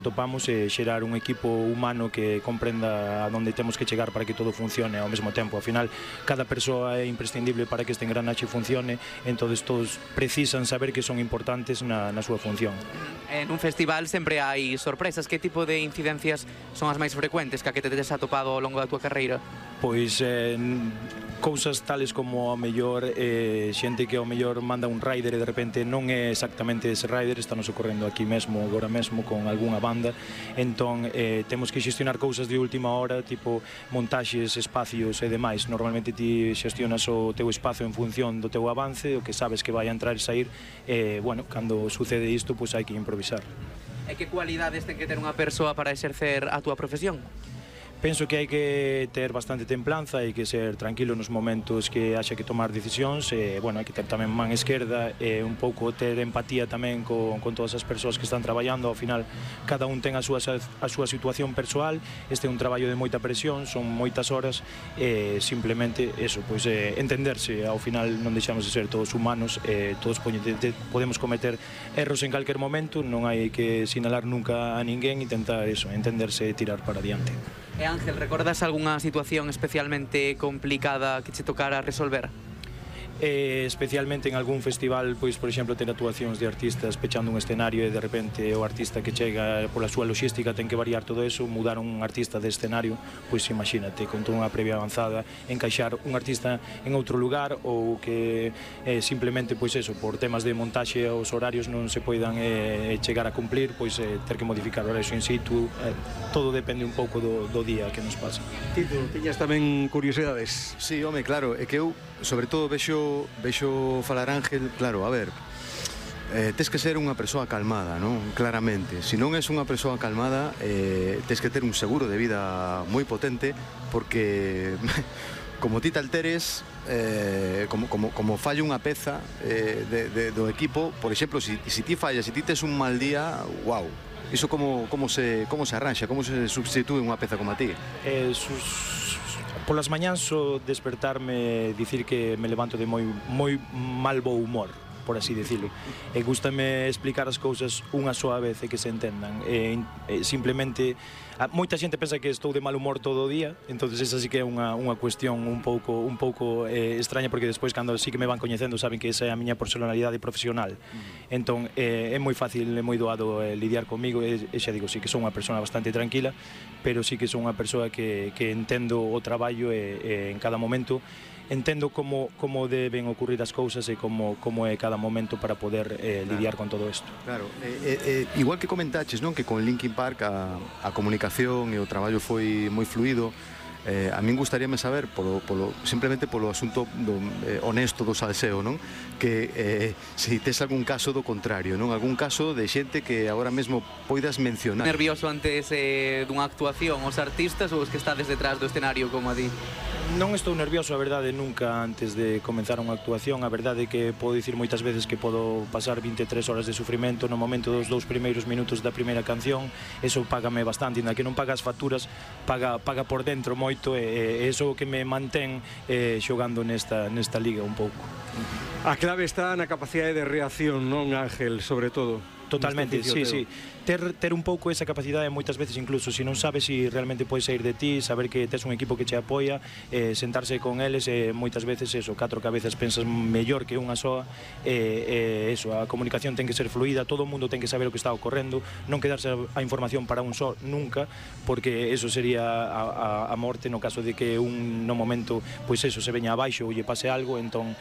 Topamos xerar un equipo humano que comprenda a onde temos que chegar para que todo funcione ao mesmo tempo. Ao final, cada persoa é imprescindible para que este engranaxe funcione, entón todos precisan saber que son importantes na súa función. En un festival sempre hai sorpresas. Que tipo de incidencias son as máis frecuentes que a que te tes atopado ao longo da tua carreira? Pois cousas tales como ao mellor xente que ao mellor manda un rider e de repente non é exactamente ese rider, está nos ocorrendo aquí mesmo, agora mesmo con algunha banda, entón temos que xestionar cousas de última hora, tipo montaxes, espacios e demais. Normalmente ti xestionas o teu espazo en función do teu avance, o que sabes que vai a entrar e sair, bueno, cando sucede isto, pois hai que improvisar. E que cualidades ten que ter unha persoa para exercer a túa profesión? Penso que hai que ter bastante templanza, hai que ser tranquilo nos momentos que haxa que tomar decisións, bueno, hai que ter tamén man esquerda e un pouco ter empatía tamén con todas as persoas que están traballando. Ao final, cada un ten a súa situación persoal, este é un traballo de moita presión, son moitas horas, simplemente eso, pois entenderse. Ao final non deixamos de ser todos humanos, todos podemos cometer erros en calquer momento, non hai que sinalar nunca a ninguén, intentar eso, entenderse e tirar para adiante. E Ángel, recordas algunha situación especialmente complicada que che tocara resolver? Especialmente en algún festival, pois, por exemplo, ter actuacións de artistas pechando un escenario e de repente o artista que chega pola súa logística ten que variar todo eso, mudar un artista de escenario, pois imagínate, con toda unha previa avanzada, encaixar un artista en outro lugar ou que simplemente, pois eso, por temas de montaxe os horarios non se poidan chegar a cumplir, pois ter que modificar o horario in situ, todo depende un pouco do día que nos pasa. Tito, tiñas tamén curiosidades? Sí, home, claro, é que eu, sobre todo, vexo falar Ángel, claro, a ver, tes que ser unha persoa calmada, non? Claramente, se non és unha persoa calmada, tes que ter un seguro de vida moi potente, porque como ti te alteres, como falla unha peza do equipo, por exemplo, se ti fallas, se ti tes un mal día, wow, iso como se arranxa, como se substitúe unha peza como a ti? Polas mañáns o despertarme, dicir que me levanto de moi mal bo humor, por así dicilo. E gústame explicar as cousas unha soa vez e que se entendan. Simplemente, moita xente pensa que estou de mal humor todo o día, entonces esa sí que é unha cuestión un pouco extraña, porque despois cando sí que me van coñecendo saben que esa é a miña personalidade profesional. Entón é moi fácil, é moi doado lidiar comigo, e xa digo, sí que son unha persona bastante tranquila, pero sí que son unha persoa que entendo o traballo e en cada momento entendo como deben ocurrir as cousas e como é cada momento para poder lidiar con todo isto. Claro, igual que comentaches, non, que con Linkin Park a comunicación e o traballo foi moi fluido. A min gustaríame saber, simplemente polo asunto honesto do salseo, non? Que se tes algún caso do contrario, non? Algún caso de xente que agora mesmo poidas mencionar. Nervioso antes dunha actuación os artistas ou os que estades detrás do escenario como a ti? Non estou nervioso, a verdade, nunca antes de comenzar unha actuación. A verdade é que podo dicir moitas veces que podo pasar 23 horas de sufrimento no momento dos 2 primeiros minutos da primeira canción. Eso págame bastante, ainda que non paga as facturas, paga por dentro moito, e iso que me mantén xogando nesta liga un pouco. A clave está na capacidade de reacción, non, Ángel, sobre todo? Totalmente, sí. Ter un pouco esa capacidade moitas veces, incluso se non sabes se realmente podes sair de ti, saber que tes un equipo que che apoia, sentarse con eles, moitas veces eso, 4 cabezas pensas mellor que unha soa, eso, a comunicación ten que ser fluida, todo o mundo ten que saber o que está ocorrendo, non quedarse a información para un só nunca, porque eso sería a morte no caso de que no momento, pois eso, se veña abaixo ou lle pase algo. Entón,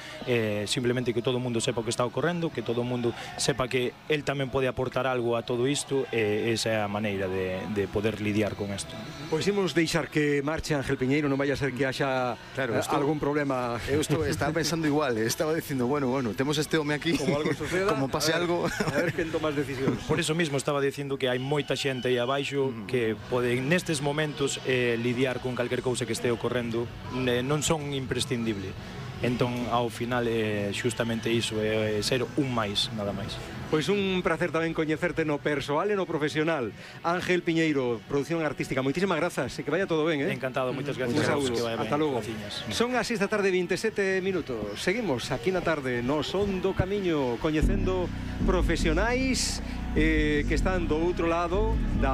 simplemente que todo o mundo sepa o que está ocorrendo, que todo o mundo sepa que el tamén pode aportar algo a todo isto, e esa é a maneira de poder lidiar con isto. Pois imos deixar que marche Ángel Piñeiro, non vai a ser que haxa algún problema. Eu estaba pensando igual, estaba dicindo, bueno, temos este home aquí, como algo suceda, como pase algo, a ver quen toma as decisións. Por eso mismo estaba dicindo que hai moita xente aí abaixo que poden nestes momentos lidiar con calquer cousa que este ocorrendo, non son imprescindible. Entón, ao final, xustamente iso, ser un máis, nada máis. Pois un placer tamén coñecerte no persoal e no profesional. Ángel Piñeiro, produción artística, moitísimas grazas e que vaya todo ben, Encantado, moitas gracias. Hasta logo. Son as 6 da tarde, 27 minutos. Seguimos aquí na tarde no Son do Camiño, coñecendo profesionais que están do outro lado da